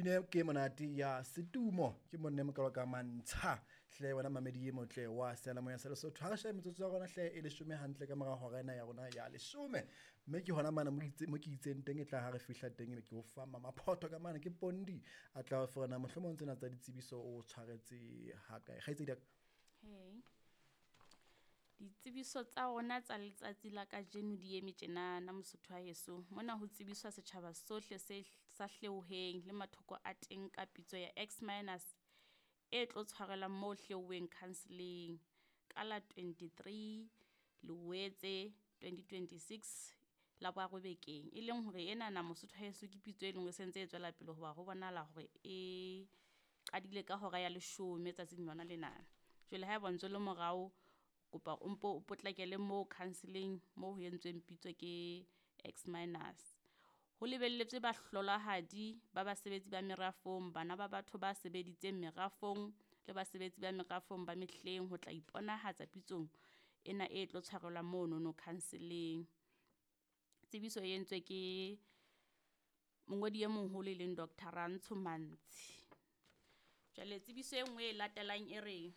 Pine ke monate ya setumo ke monne mokalo ka mantsha hle wena mamedi e motle wa seyalemoya sa Lesotho. Ha re shebe metsotso ya rona hle e leshome hantle ka mora hora ena ya rona ya leshome. Mme ke hona mane mo ke itseng teng e tla ha re fihla teng ebe ke o fa mamaphotho ka mane ke Pondi a tla o fa mohlomong tsena tsa ditsebiso o tshwaretse ha kae. Kgaitsedi ya ka. Hey. Ditsebiso tsa rona tsa letsatsi la kajeno di eme tjenana Mosotho wa heso. Mona ho tsebiswa setjhaba sohle se sa Hleoheng le mathoko a teng ka pitso ya X minus e tlo tshwarelwa moo Hleoheng counseling ka la 23 Loetse 2026 la boraro bekeng. E leng hore enana Mosotho wa heso ke pitso e leng hore e sentse e tswela pele hoba ho bonahala hore e qadile ka hora ya leshome tsatsing lona lena. Jwale haeba o ntso le morao kopa o mpo o potlakele moo counseling moo ho entsweng pitso ke X minus. Ho lebelletswe bahlolohadi ba basebetsi ba merafong, bana ba batho ba sebeditseng merafong le basebetsi ba merafong ba mehleng ho tla iponahatsa pitsong ena e tlo tshwarelwa monono counseling. Tsebiso e entswe ke mongodi e moholo e leng Dr. Rantsho Mantshi. Jwale tsebiso e nngwe e latelang e re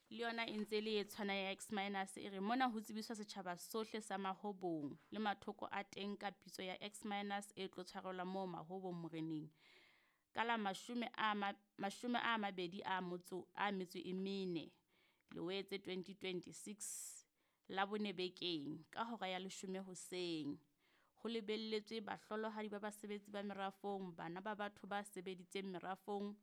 le yona e ntse le e tshwana ya X minus e re mona ho tsebiswa setjhaba sohle sa Mahobong le mathoko a teng ka pitso ya X minus e tlo tshwarelwa moo Mahobong moreneng ka la mashome a mabedi a motso a metso e mene Loetse 2026 la bone bekeng ka hora ya leshome hoseng. Ho lebelletswe bahlolohadi ba basebetsi ba merafong, bana ba batho ba sebeditseng merafong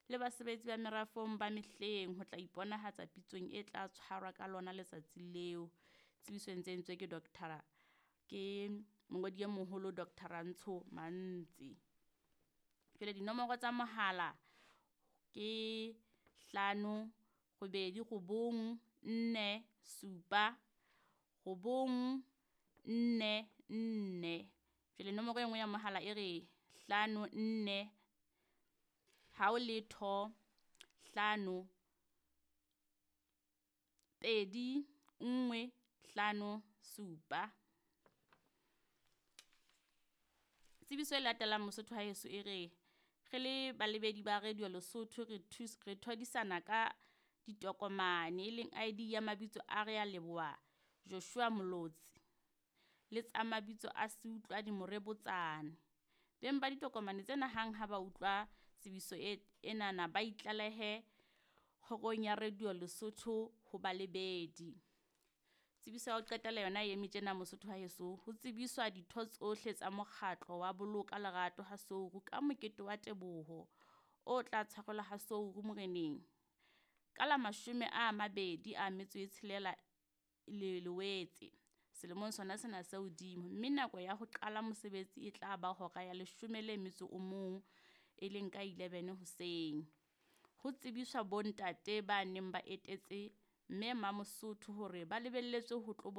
le basebetsi ba merafong ba mehleng ho tla iponahatsa pitsong e tla tshwarwa ka lona letsatsi leo. Tsebiso e ntse entswe ke Dr. ke mongodi e moholo Dr. Rantsho Mantsi. Jwale dinomoro tsa mohala ke 5 8 9 4 7 9 4 4. Jwale nomoro e nngwe ya mohala e re 5 4 hao letho 5 2 1 5 7. Tsebiso e latelang Mosotho wa heso e re re le balebedi ba Radio Lesotho re thodisana ka ditokomane e leng ID ya mabitso a re a leboha Joshua Molotsi le tsa mabitso a Seutlwadi Morebotsane. Beng ba ditokomane tsena hang ha ba utlwa tsebiso enana ba itlalehe kgorong ya Radio Lesotho ho balebedi. Tsebiso ya ho qetela yona e eme tjena Mosotho wa heso. Ho tsebiswa ditho tsohle tsa mokgatlo wa Boloka Lerato ha Souru ka mokete wa teboho o tla tshwarelwa ha Souru moreneng ka la 26 Loetse selemong sona sena se hodimo, mme nako ya ho qala mosebetsi e tla ba hora ya 11 e leng ka 11 hoseng. Ho tsebiswa bontate ba neng ba etetse mme Mamosotho hore ba lebelletswe ho tlo